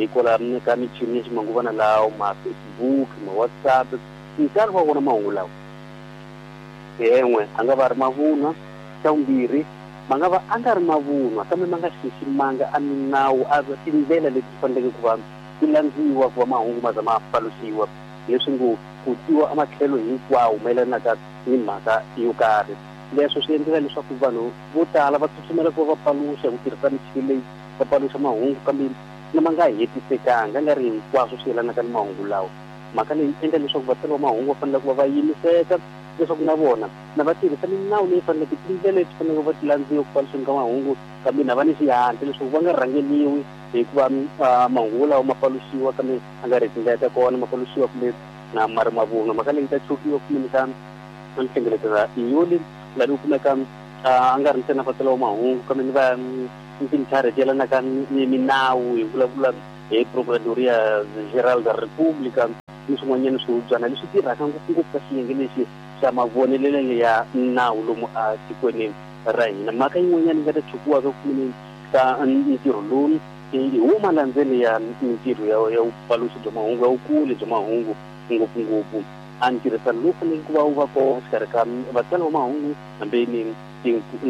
Hikwalaho ka michini ya ximanguvana lawa, ma-Facebook, ma-WhatsApp, nkarhi wa wona mahungu lawa en'we a nga va ri mavunwa. Xa vumbirhi, ma nga va a nga ri mavunwa kambe ma nga xiximanga a minawu, a tindlela leti faneleke ku va ti landziwa ku va mahungu ma za ma paluxiwa, leswi ngo ku twiwa ematlhelo hinkwawo mayelanaka ni mhaka yo karhi. Leswo swi endlela leswaku vanhu vo tala va tsutsumela ku va va paluxa hi ku tirhisa michini leyi, va paluxa mahungu kambe na ma nga hetisekanga, nga ri hinkwaswo swi yelanaka ni mahungu lawa. Mhaka leyi endla leswaku vatsari va mahungu va fanele ku va va yimiseka leswaku na vona na va tirhisa minawu leyi faneleke, tindlela leti faneleke va ti landziwa ku paluxeni ka mahungu, kambe na va ni xihatla leswaku va nga rhangeliwi hikuva mahungu lawa ma paluxiwa kambe a nga ri tindlela ta kona, ma paluxiwa kumbe na ma ri mavunwa. Mhaka leyi ta chukiwa kumbe ka nhlengeletano yoli laha ku kumeka a nga ri ntsena vatsari va mahungu kambe ni va tintlhari ti yelanaka ni minawu, hi vulavula hi Procuradoria Geral da República ni swin'wanyana swihubyana leswi tirhaka ngopfungopfu ka xiyenge lexi xa mavonelelo ya nawu lomu a tikweni ra hina. Mhaka yin'wanyana yi nga ta chukiwaka kumbe ka ntirho lowu hi wo malandzelo ya mintirho ya vupaluxi bya mahungu, ya vukuli bya mahungu, ngopfungopfu a ntirhisano lowu faneleke ku va wu va kona exikarhi ka vatsari va mahungu hambi ni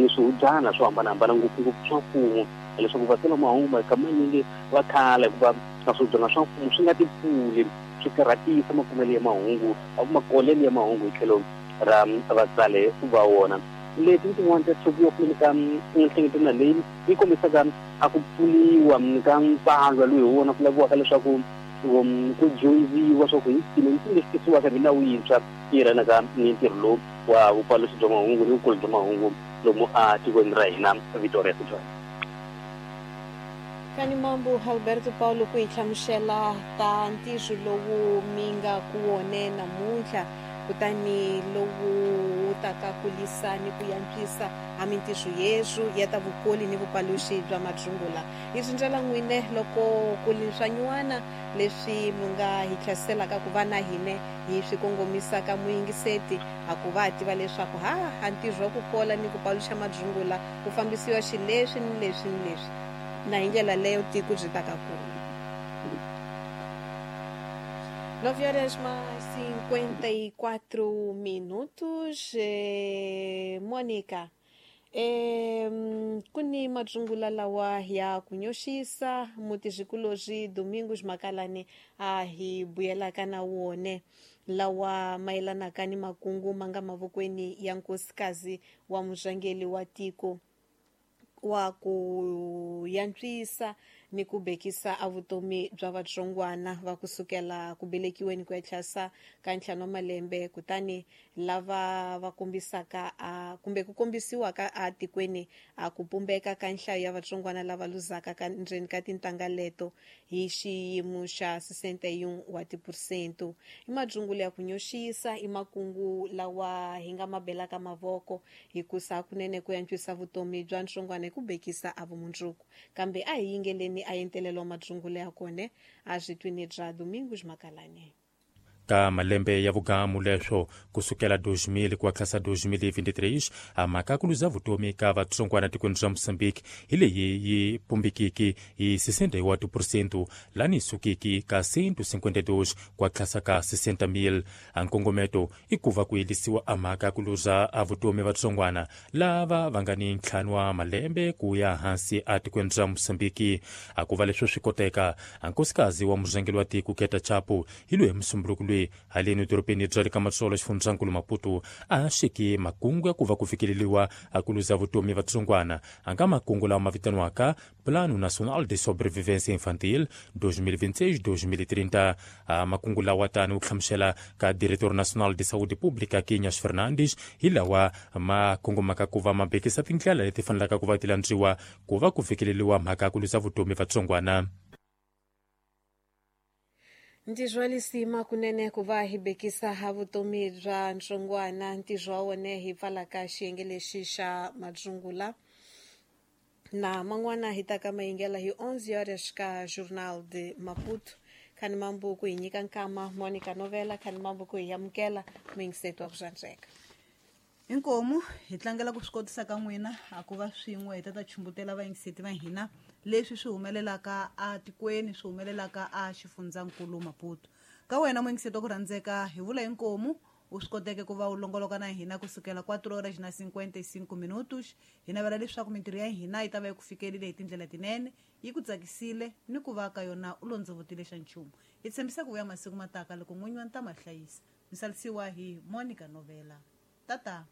swihubyana swo hambanahambana, ngopfungopfu swa mfumo, leswaku vatsari va mahungu manyingi va khala hikuva swihubyana swa mfumo swi nga ti pfuli, swi karhatisa makumelo ya mahungu, makolelo ya mahungu hi tlhelo ra vatsari va wona. Leti i tin'wani ta tshukiwa kumbe ka nhlengeletano leyi yi kombisaka a ku pfuniwa ka mpfalwa lowu hi wona ku laviwaka leswaku ku dyondziwa swa ku hi mpimo mpimo lexi tisiwaka hi milawu yintshwa yi yelanaka ni ntirho lowu wa vupaluxi bya mahungu ni vukulu bya mahungu lomu a tikweni ra hina. Victoria Sithole. Kani mambu Alberto Paulo ku hi hlamusela ta ntirho lowu mi nga ku wone namuntlha, kutani lowu wu taka kulisa ni ku yantswisa a mintirho yeswu ya ta vukoli ni vupaluxi bya madzungula. Hi rindzela n'wine loko ku li swanywana leswi mi nga hi tlhasiselaka ku va na hine hi swi kongomisaka muyingiseti, a ku va tiva leswaku ha a ntirho wa ku kola ni ku paluxa madzungula ku fambisiwa xileswi ni leswi ni leswi, na hi ndlela leyo tiko byi taka kula. 9 horas mais 54 minutos. Mônica, ku ni madzungula lawa ya ku nyoxisa mutizikulozi Domingos Makalani a hi buyelaka na wone, lawa mayelanaka ni makungu ma nga mavokweni ya nkosikazi wa murhangeri wa tiko wa ku yantswisa ni ku bekisa a vutomi bya vatsongwana va kusukela ku velekiweni ku ya tlhasa ka 5 wa malembe, kutani lava va kombisaka a kumbe ku kombisiwaka a tikweni a ku pumbeka ka nhlayo ya vatsongwana lava luzaka ka ndzeni ka tintangha leto hi xiyimo xa 61 wa tiphesente. I madzungula ya ku nyoxisa, i makungu lawa hi nga ma belaka mavoko hikusa hakunene ku yantswisa vutomi bya ntsongwana hi ku bekisa a vumundzuku. Kambe a hi yingeleni a yentelelo madzungula ya kone a swi twini bya Domingos Makalani. Ka malembe ya vugamu leswo kusukela 2000 ku tlhasa 2023, a mhaka ku luza vutomi ka vatsongwana tikweni ra Mozambique hi leyi yi pumbikiki hi 61%, lani sukiki ka 152 ku tlhasa ka 60,000. A nkongometo i ku va ku yelisiwa a mhaka ku luza a vutomi vatsongwana lava va nga ni 5 wa malembe ku ya hansi a tikweni ra Mozambique. A ku va leswo swi koteka, a nkosikazi wa murhangeri wa tiko Keta Chapo hi loyi musumbunuko loyi haleni dorobeni bya le ka Matsolo xifundzankulu Maputo a xiki makungu ya ku va ku fikeleriwa a ku luza vutomi vatsongwana, a nga makungu lawa ma vitaniwaka Plano Nacional de Sobrevivência Infantil 2026-2030. A makungu lawa tani u hlamusela ka Diretor Nacional de Saúde Pública Quinhas Fernandes hi lawa ma kongomaka ku va ma bekisa tindlela leti fanelaka ku va ti landziwa ku va ku fikeleriwa mhaka ya ku luza vutomi vatsongwana. Ntirho wa lisima kunene ku va hi bekisa ha vutomi bya ntsongwana, ntirho wa wone hi pfalaka xiyenge lexi xa madzungula na man'wana hi ta ka mayingela hi 11 horas ka Journal de Maputo. Khani mambu ku hi nyika nkama Monica Novela, khani mambu ku hi amukela muyingiseti wa ku swandzeka. Inkomu hi tlangela ku swi kotisa ka n'wina a ku va swin'we hi ta ta chumbutela vayingiseti va hina Leswi swi humelelaka atikweni, swi humelelaka a xifundzankulu Maputo. Ka wena muyingiseti wa ku rhandzeka, hi vula inkomu u swi koteke ku va u longoloka na hina kusukela 4 horas na 55 minutos. Hi navela leswaku mintirho ya hina yi ta va yi ku fikelile hi tindlela tinene, yi ku tsakisile ni ku va ka yona u londzovotile xa nchumu. Hi tshembisa ku vuya masiku mataka loko n'winyi wa ntama hlayisa. Mi salisiwa hi Monica Novela. Tata.